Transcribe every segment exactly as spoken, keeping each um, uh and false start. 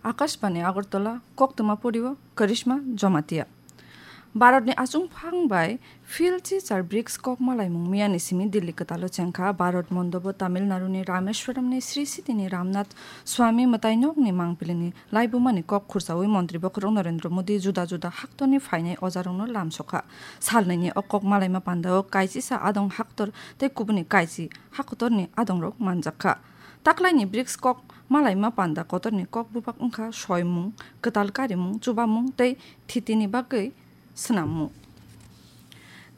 Akashbani Agartala, koktwma porio Karishma Jamatia. Bharatni achungphang bai Phil Chichar brics kok malaimung miyani simi Delhi kwtalo chengkha. Bharat mondobo Tamil Naduni Rameshwaramni Sri Sitini Ramnath Swami mwtainokni mangpilini laibumani kok khursaui Montri Bokhorok Narendra Modi juda juda haktorni phainai ojarokno lamsokha. Salnwini o kok malaima pandao kaisisa adong haktor tei kubuni kaisi haktorni adongrok manjakha. Taklaini brics kok malaima panda kotorni kok bupak wngkha soimung, kwtal karimung, chubamung tei thitini bagwi swnammung.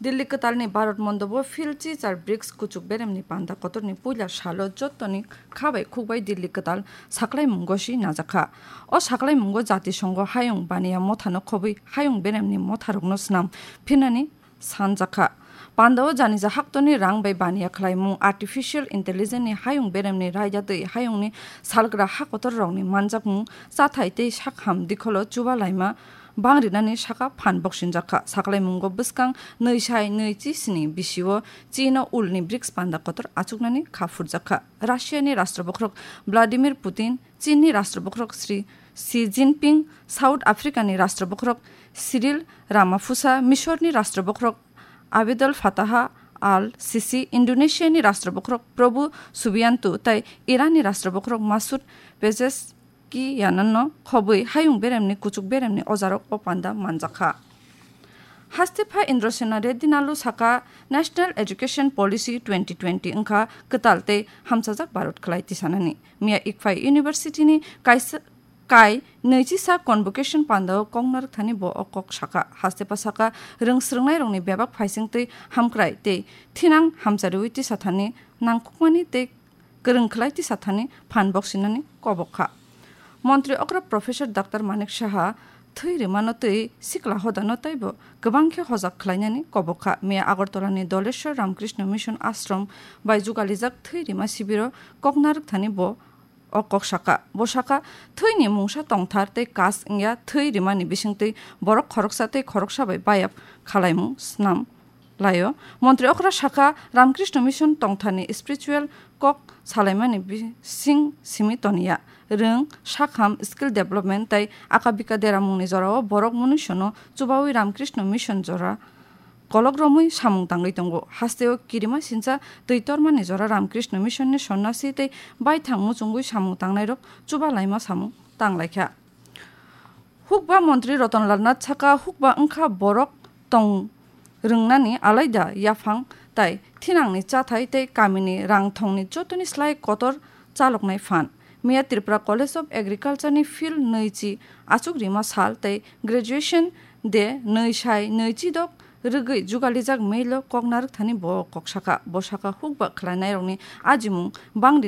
Delhi kwtalni Bharat mondobo Phil Chichar brics kuchuk beremni panda kotorni puila salo jottoni kha bai khuk bai Delhi kwtal saklaimungo si najakha. O saklaimungo Jatisongo hayung baniya mothano khobwi hayung beremni motharokno swnam phinani sanjakha. Pandao janija haktorni rang bai baniya khlaimung, artificial intelligence ni hayung beremni raida twi hayungni salgra hakotor rokni manjakmung, chathai tei sakham dikholo chuba laima bang rinani saka phan boksinjakha. Saklaimungo bwskang nwi sai nwi chi sini bisio chino ulni brics panda kotor achuknani kha phurjakha. Russia ni Rashtra Bokhorok Vladimir Putin, Chinni Rashtra Bokhorok Sri Xi Jinping, South Africa ni Rashtra Bokhorok Cyril Ramaphosa, Misorni Rashtra Bokhorok Abdel Fattah al-Sisi, Indonesiani Rashtra Bokhorok Prabowo Subianto tei Iranni Rashtra Bokhorok Masoud Pezeshkianno khobwi hayung beremni kuchuk beremni ojarok o panda manjakha. Haste pha Indrasena Reddy Nalu saka National Education Policy twenty twenty wngkha kwtal tei hamchajak Bharat khlai tisanani. Miya Ikphai University ni kaisa kai nwichi sa convocation pandao kok narwkthani bo o kok saka. Haste pha saka rwng swrwngnairokni bebak phaising tei hamkrai tei thinang hamchariui tisathani nangkukmani tei kwrwng khlai tisathani phan boksinani kobok kha. Montri okra Professor Doctor Manik Saha thwi rwmano twi sikla hodano taibo kwbang khe hojak khlainani kobok kha. Miya Agartala ni Doleshwar Ramkrishna Mission Ashram bai jugalijak thwi rima sibiro kok narwkthani bo o kok saka. Bo saka, thwini mungsa tongthar tei kas wngya thwi rimani bisingtwi borok khoroksa tei khoroksa bai bayap khalaimung snam laio. Montri okra saka, Ramkrishna Mission tongtharni spiritual kok salaimani bising simi toniya. Rwng, sakham, skill development tei akabika deramungni jorao borok munuisono chubaui Ramkrishna Mission jora kolok romwi samung tangwi tongo. Hasteo kirima sincha twi tormani jora Ramkrishna Mission ni sonnasi tei baithang muchungwi samung tangnairok chuba laima samung tanglaikha. Hukba Montri Ratan Lal Nath saka, hukba wngkha borok tong rwngnani alaida yaphang tai thinangni chathai tei kamini rang thongni jotoni slai kotor chaloknai phan. Miya Tripura College of Agriculture ni field nwi chi achuk rima sal tei graduation de nwi sai nwi chi dok rwgwi jugalijak mail o kok narwkthani bo kok saka. Bo saka hukba khlainairokni ajimung bangri